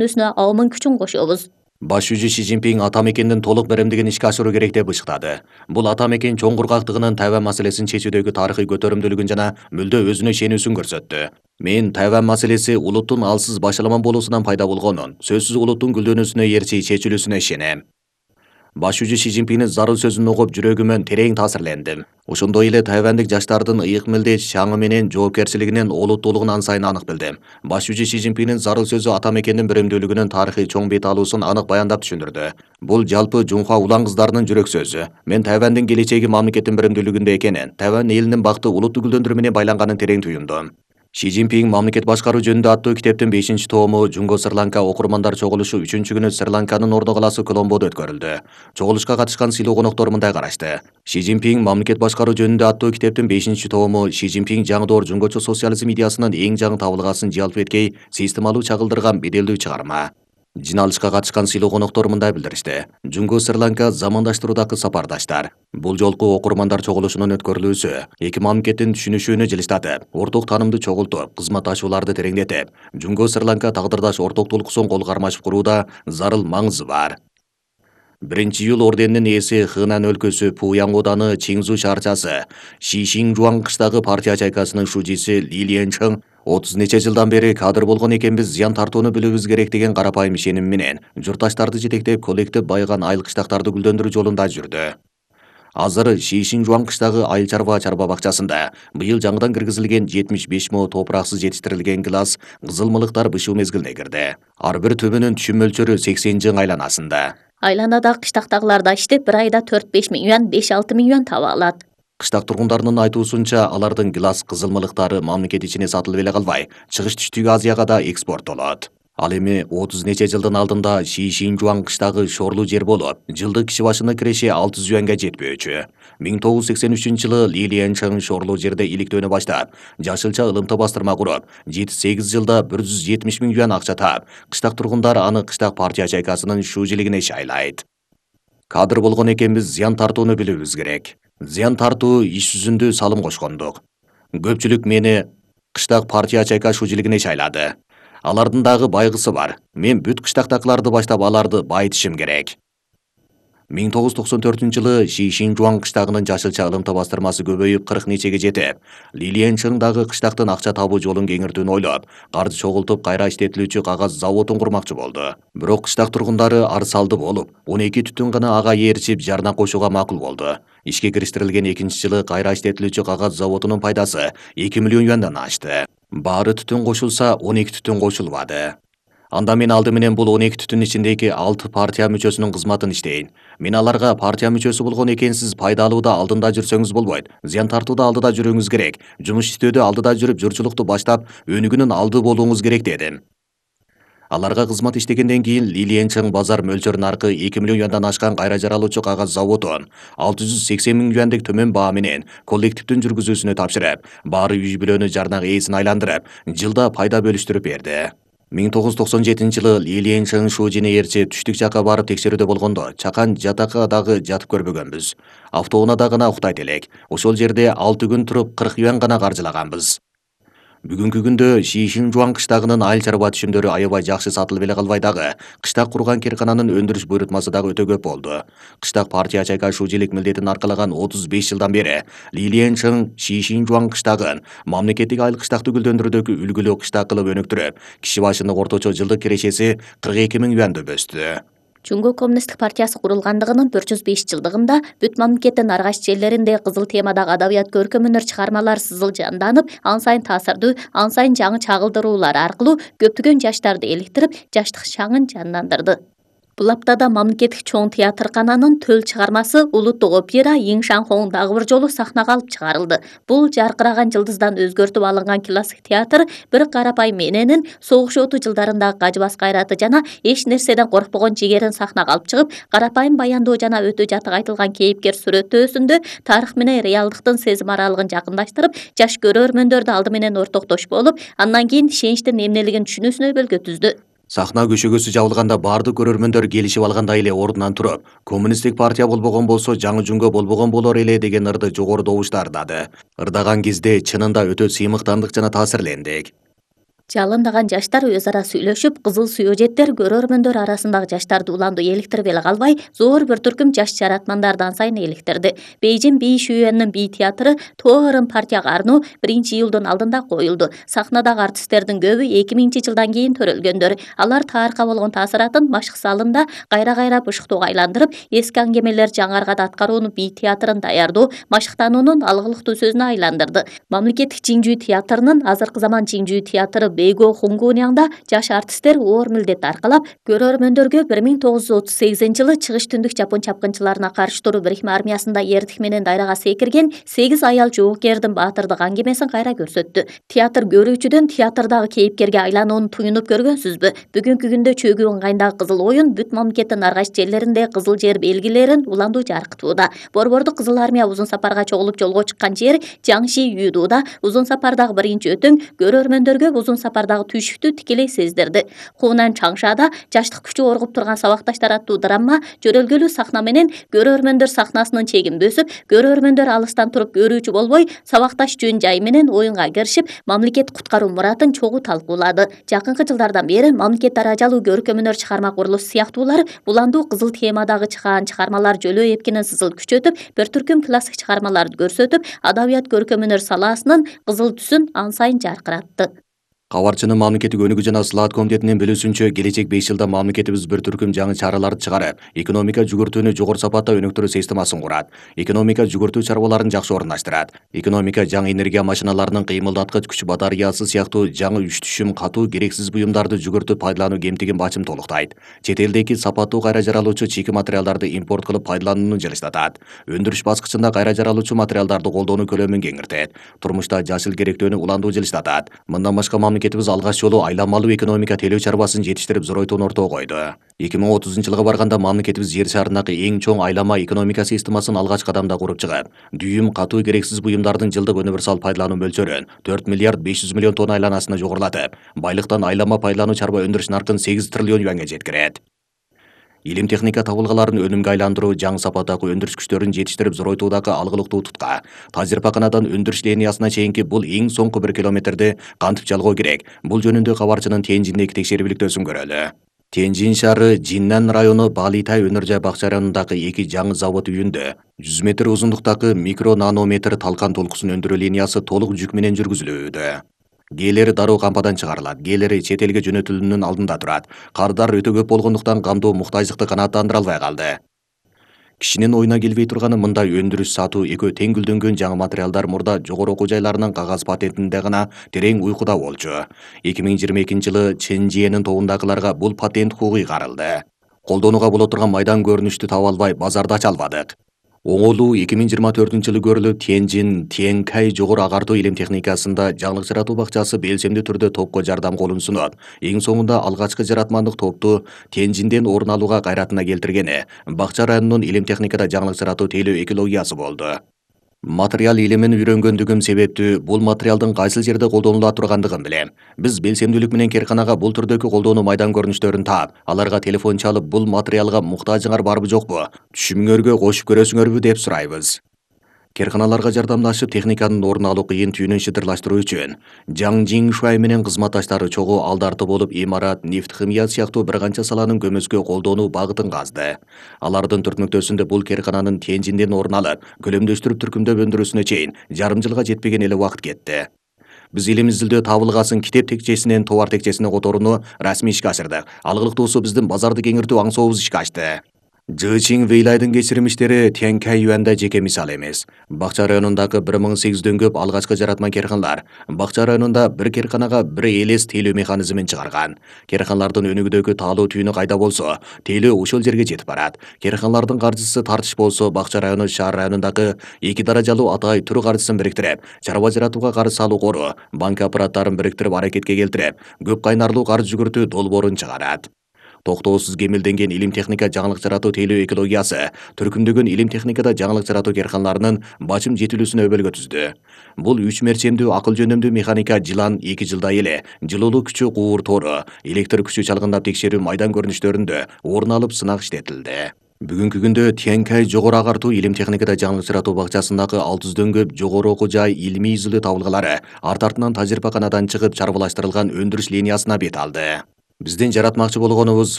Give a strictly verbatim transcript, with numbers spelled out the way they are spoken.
күнүнө аомун күчүн кошобуз. Баш жүзү Ши Цзиньпин ата мекендин толук беремдигин ишке ашыруу керек деп ышыктады. Бул ата мекен чоң кургактыгынын Тайвань маселесин чечүүдөгү тарыхый көтөрүмдүүлүгүн жана мүлдө өзүнө ишенүүсүн көрсөттү. Мен Тайвань маселеси улуттун алсыз башаламан болуусунан пайда болгонун, сөзсүз улуттун гүлдөнүүсүнө эрчи чечилүүсүнө ишенем. Баш жүзү Ши Цзиньпиндин зарыл сөзүн угуп жүрөгүмөн терең таасирлендим. Ошондой эле тайвандык жаштардын ыйык милдет шаңы менен жоопкерчилигинин олуттуулугун ансайын анык билдим. Баш жүзү Ши Цзиньпиндин зарыл сөзү ата мекендин беремдүүлүгүнүн тарыхый чоң бет алуусун анык баяндап түшүндүрдү. Бул жалпы Жунхуа улан кыздарынын жүрөк сөзү. Мен Тайвандын келечеги мамлекеттин беремдүүлүгүндө экенин, Тайвань элинин бакыты улутту гүлдөндүрүү менен байланганын терең туюмдум. Ши Цзиньпин мамлекет башкаруу жөнүндө аттуу китептин бешинчи тому Жунго Сри-Ланка окурмандар чогулушу үчүнчү күнү Сри-Ланканын ордо калаасы Коломбодо өткөрүлдү. Чогулушка катышкан сыйлуу коноктор мындай карашты. Ши Цзиньпин мамлекет башкаруу жөнүндө аттуу китептин бешинчи тому Ши Цзиньпин жаңы доор жунгочу социализм идеясынын эң жаңы табылгасын жалп эткей системалуу чагылдырган беделдүү чыгарма. Жиналышка катышкан сыйлуу коноктор мындай билдиришти. Жунго Сри-Ланка замандаштыруудагы сапардаштар. Бул жолку окурмандар чогулушунун өткөрүлүүсү эки мамлекеттин түшүнүшүүнү жылыштатып, орток таанымды чогултуп, кызматташууларды тереңдетип, Жунго Сри-Ланка тагдырдаш ортоктулуксун кол кармашып курууда зарыл маңызы бар. биринчи июль орденинин ээси Хынан өлкөсү Пуяң ооданы Чинзу шаарчасы Шишиңжуан кыштагы партия чайкасынын шужиси Ли Ленчэн отуз нече жылдан бери кадр болгон экенбиз, зыян тартууну билүүбүз керек деген карапайым ишеним менен журтташтарды жетектеп коллектив байыган айыл кыштактарды гүлдөндүрүү жолунда жүрдү. Азыр Шишиңжуан кыштагы айыл чарба чарба бакчасында быйыл жаңыдан киргизилген жетимиш беш мо топураксыз жетиштирилген гилас кызыл мылыктар бышуу мезгилине кирди. Ар бир түбүнүн түшүм мөлчөрү сексен жың айланасында. Айланадагы кыштактагыларда иштеп бир айда төрт беш миң юан, беш алты миң юан таба алат. Кыштак тургундарынын айтуусунча, алардын гилас кызыл мылыктары мамлекет ичине сатылып эле калбай, чыгыш түштүк Азияга да экспорттолот. Ал эми отуз нече жылдын алдында Шишиңжуан кыштагы шорлуу жер болуп, жылдык киши башына киреше алты жүз юанга жетпөөчү. миң тогуз жүз сексен үчүнчү жылы Ли Ленчэн шорлуу жерде иликтөөнү баштап, жашылча ылымта бастырма куруп, жети сегиз жылда бир жүз жетимиш миң юан акча таап, кыштак тургундар аны кыштак партия чайкасынын шуужилигине шайлайт. Кадр болгон экенбиз, зыян тартууну билүүбүз керек. Зыян тартуу иш жүзүндө салым кошкондук. Көпчүлүк мени кыштак партия чайка шуужилигине шайлады. Алардын дагы байгысы бар. Мен бүт кыштактакыларды баштап аларды байытышым керек. миң тогуз жүз токсон төртүнчү жылы Шишиңжуан кыштагынын жашылча ылымта бастырмасы көбөйүп кырк нечеге жетип, Ли Ленчэн дагы кыштактын акча табуу жолун кеңиртүүнү ойлоп, каржы чогултуп кайра иштетилүүчү кагаз заводун курмакчы болду. Бирок кыштак тургундары ар салды болуп, он эки түтүн гана ага ээрчип жарна кошууга макул болду. Ишке кириштирилген экинчи жылы кайра иштетилүүчү кагаз заводунун пайдасы эки миллион юандан ашты. Баары түтүн кошулса, он эки түтүн кошулбады. Анда мен алды менен бул он эки түтүн ичиндеги алты партия мүчөсүнүн кызматын иштейин. Мен аларга партия мүчөсү болгон экенсиз, пайдалууда алдында жүрсөңүз болбойт. Зыян тартууда алдыда жүрүүңүз керек. Жумуш иштөөдө алдыда жүрүп, журчулукту баштап, өнүгүүнүн алды болууңуз керек дедим. Аларга кызмат иштегенден кийин Ли Ленчэн базар мөлчөрүнүн аркы эки миллион юандан ашкан кайра жаралуучу кагаз заводун алты жүз сексен миң юандык төмөн баа менен коллективдин жүргүзүүсүнө тапшырып, баары үй бүлөнү жарнак ээсин айландырып, жылда пайда бөлүштүрүп берди. миң тогуз жүз токсон жетинчи жылы Ли Ленчэн шуужине ээрчи түштүк жакка барып текшерүүдө болгондо, чакан жатакка дагы жатып көрбөгөнбүз. Автоунаада гана уктайт элек. Ошол жерде алты күн туруп кырк юан гана каржылаганбыз. Бүгүнкү күндө Шишиңжуан кыштагынын айыл чарба түшүмдөрү аябай жакшы сатылып эле калбай дагы, кыштак курган киркананын өндүрүш буйрутмасы дагы өтө көп болду. Кыштак партия чайка шуужилик милдетин аркалаган отуз беш жылдан бери Ли Ленчэн Шишиңжуан кыштагын мамлекеттик айыл кыштакты гүлдөндүрүүдөгү үлгүлүү кыштак кылып өнүктүрүп, киши башына орточо жылдык кирешеси кырк эки миң юанды өстү. Жунго коммунисттик партиясы курулгандыгынын төрт жүз беш жылдыгында бүт мамлекеттин ар кайсы жерлеринде кызыл темадагы адабият көркөм өнөр чыгармалар сызыл жанданып, ан сайын таасирдүү, ан сайын жаңы чагылдыруулар аркылуу көптөгөн жаштарды эликтирип, жаштык шаңын жандандырды. Бул аптада мамлекеттик чоң театркананын төл чыгармасы улуттук опера Йиңшанхоң дагы бир жолу сахнага алып чыгарылды. Бул жаркыраган жылдыздан өзгөртүп алынган классик театр бир карапайым эненин согуш оту жылдарындагы кажыбас кайраты жана эч нерседен коркпогон жигерин сахнага алып чыгып, карапайым баяндоо жана өтө жатык айтылган кейипкер сүрөттөөсүндө тарых менен реалдыктын сезим аралыгын жакындаштырып, жаш көрөрмөндөрдү алды менен ортоктошуп болуп, андан кийин ишеничтин эмнелигин түшүнүүсүнө өбөлгө түздү. Сахна көшөгөсү жабылганда баардык көрөрмөндөр келишип алгандай эле ордунан туруп, коммунисттик партия болбогон болсо жаңы Жунго болбогон болор эле деген ырды жогору добуштар ырдады. Ырдаган кезде чынында өтө сыймыктандык жана таасирлендик. Жалындаган жаштар өз ара сүйлөшүп, кызыл сүйөжеттер көрөрмөндөр арасындагы жаштарды уланду эликтирип эле калбай, зор бир түркүм жаш жаратмандарды ансайын эликтирди. Бейжин Би Шүйөнүн Би театры Тоорун партияга арноо биринчи июлдун алдында коюлду. Сахнадагы артисттердин көбү эки миңинчи жылдан кийин төрөлгөндөр. Алар таарыкка болгон таасыратын машык залында кайра-кайра бышыктоого айландырып, эски аңгемелер жаңыргада аткарууну Би театрын даярдоо, машыктануунун алгылыктуу сөзүнө айландырды. Мамлекеттик Жиңжүү театрынын азыркы заман Жиңжүү театры Бейго Хунгуньяңда жаш артисттер оор милдет аркалап, көрөрмөндөргө бир миң тогуз жүз отуз сегизинчи жылы чыгыш түндүк жапон чапкынчыларына каршы туруу бирикме армиясында эрдик менен дайрага секирген сегиз аял жоокердин баатырдык аңгемесин кайра көрсөттү. Театр көрүүчүдөн театрдагы кейипкерге айланууну туюнуп көргөнсүзбү? Бүгүнкү күндө чөгүү ыңгайындагы кызыл оюн бүт мамлекеттин ар кайсы жерлеринде кызыл жер белгилерин уландуу жаркытууда. Борбордук кызыл армия узун сапарга чогулуп жолго чыккан жер Жаңши Юдууда узун сапардагы биринчи өтөң көрөрмөндөргө узун сапардагы түйшүктү тикелей сездирди. Хунан Чаңшада жаштык күчү оргуп турган сабакташтар аттуу драма жөрөлгөлүү сахна менен көрөрмөндөр сахнасынын чегин бөсүп, көрөрмөндөр алыстан туруп көрүүчү болбой, сабакташ жөн жай менен оюнга киришип, мамлекет куткаруу муратын чогуу талкуулады. Жакынкы жылдардан бери мамлекет даражалуу көркөм-өнөр чыгарма курулушу сыяктуулар уландуу кызыл темадагы чыгаан чыгармалар Жөлөө эпкинин сызыл күчөтүп, бир түркүм классик чыгармаларды көрсөтүп, адабият көркөм-өнөр салаасынын кызыл түсүн ан сайын жаркыратты. Кабарчынын мамлекеттик өнүгүү жана сылаат комитетинин билүүсүнчө, келечек беш жылда мамлекетибиз бир түркүм жаңы чараларды чыгарып, экономика жүгүртүүнү жогору сапатта өнүктүрүү системасын курат. Экономика жүгүртүү чарбаларын жакшы орундаштырат. Экономика жаңы энергия машиналарынын кыймылдаткыч күч батареясы сыяктуу жаңы үч түшүм катуу керексиз буюмдарды жүгүртүп пайдалануу кемтигин бачым толуктайт. Чет элдеки сапаттуу кайра жаралуучу чийки материалдарды импорт кылып пайдаланууну жылыстатат. Өндүрүш баскычында кайра жаралуучу материалдарды колдонуу көлөмүн кеңиртет. Турмушта жашыл керектөөнү уландуу жылыстатат. Мындан башка мамлекетибиз алгач жолу айламалуу экономика телөө чарбасын жетиштирип зоройтууну ортого койду. эки миң отузунчу жылга барганда мамлекетибиз жер шарындагы эң чоң айлама экономика системасын алгач кадамда куруп чыгып, дүйүм катуу керексиз буюмдардын жылдык универсал пайдалануу мөлчөрүн төрт миллиард беш жүз миллион тонна айланасына жогорулатып, байлыктан айлама пайдалануу чарба өндүрүш наркын сегиз триллион юанга жеткирет. Илим техника табылгаларын өнүмгө айландыруу, жаңы сапаттагы өндүрүш күчтөрүн жетиштирип зоройтуудагы алгылыктуу тутка, тажрыйбаканадан өндүрүш линиясына чейинки бул эң соңку бир километрди кантип жалгоо керек? Бул жөнүндө Кабарчынын Тяньжиндеги текшерүүлүктөсүн көрөлү. Тяньжин шаары Жиннан району Балитай өнөр жай бакча районундагы эки жаңы завод үйүндө жүз метр узундуктагы микро нанометр талкан толкусын өндүрүү линиясы толук жүк менен жүргүзүлүүдө. Гээлери дароо кампадан чыгарылат, гээлери чет элге жөнөтүлүүнүн алдында турат. Кардар өтө көп болгондуктан камдоо муктаждыкты канааттандыра албай калды. Кишинин оюна келбей турганы мындай өндүрүш сатуу экөө тең гүлдөнгөн жаңы материалдар мурда жогору окуу жайларынын кагаз патентинде гана терең уйкуда болчу. эки миң жыйырма экинчи жылы Чэнжиэнин тобундагыларга бул патент хукугу ыйгарылды. Колдонууга боло турган майдан көрүнүштү таба албай базарда ача албадык. Оңолуу эки миң жыйырма төртүнчү жылы көрүлүп, Тяньжин Тянькай жогору агартуу илим техникасында жаңылык жаратуу бакчасы белсемдүү түрдө топко жардам колун сунат. Эң соңунда алгачкы жаратмандык топту Тяньжинден орун алууга кайратына келтиргени бакча районунун илим техникада жаңылык жаратуу тейлөө экологиясы болду. Материал илимин үйрөнгөндүгүм себептүү бул материалдын кайсыл жерде колдонула тургандыгын билем. Биз белсемдүүлүк менен керканага бул түрдөгү колдонуу майдан көрүнүштөрүн таап, аларга телефон чалып, бул материалга муктажыңар барбы жокпу, түшүмүңөргө кошуп көрөсүңөрбү деп сурайбыз. Керканаларга жардамдашып, техниканын орун алуу кыйын түйүнүн шыдырлаштыруу үчүн Жаң Жиңшуай менен кызматташтары чогуу алдарты болуп, имарат, нефт, химия сыяктуу бир канча саланын көмөскө колдонуу багытын казды. Алардын түртмөктөсүндө бул керкананын Тяньжинден орун алып, көлөмдөштүрүп түркүмдөп өндүрүүсүнө чейин жарым жылга жетпеген эле убакыт кетти. Биз илим изилдөө табылгасын китеп текчесинен товар текчесине которууну расмий ишке ашырдык. Алгылыктуусу биздин базарды кеңиртүү аңсообуз ишке ашты. Жычин Вейлайдын кечирмиштери Тянькай юанда жеке мисал эмес. Бакча районундагы бир миң сегиз жүздөн көп алгачкы жаратма керканалар бакча районунда бир керканага бир элес тейлөө механизмин чыгарган. Керканалардын өнүгүүдөгү таалуу түйүнү кайда болсо, тейлөө ошол жерге жетип барат. Керканалардын каржысы тартыш болсо, бакча району шаар районундагы эки даражалуу атай түр каржысын бириктирип, чарба жаратууга карыз салуу кору, банк аппараттарын бириктирип аракетке келтирип, көп кайнарлуу карыз жүгүртүү долбоорун чыгарат. Токтоосуз кемелденген илим техника жаңылык жаратуу тейлөө экологиясы түркүмдөгөн илим техникада жаңылык жаратуу керканаларынын бачым жетилүүсүнө өбөлгө түздү. Бул үч мерчемдүү акыл жөнөмдүү механика жылан эки жылда эле жылуулук күчү куур тору, электр күчү чалгындап текшерүү майдан көрүнүштөрүндө орун алып сынак иштетилди. Бүгүнкү күндө Тянькай жогору агартуу илим техникада жаңылык жаратуу бакчасындагы алты жүздөн көп жогору окуу жай илимий изилдөө табылгалары арт артынан тажрыйбаканадан чыгып чарбалаштырылган өндүрүш линиясына бет алды. Биздин жаратмакчы болгонубуз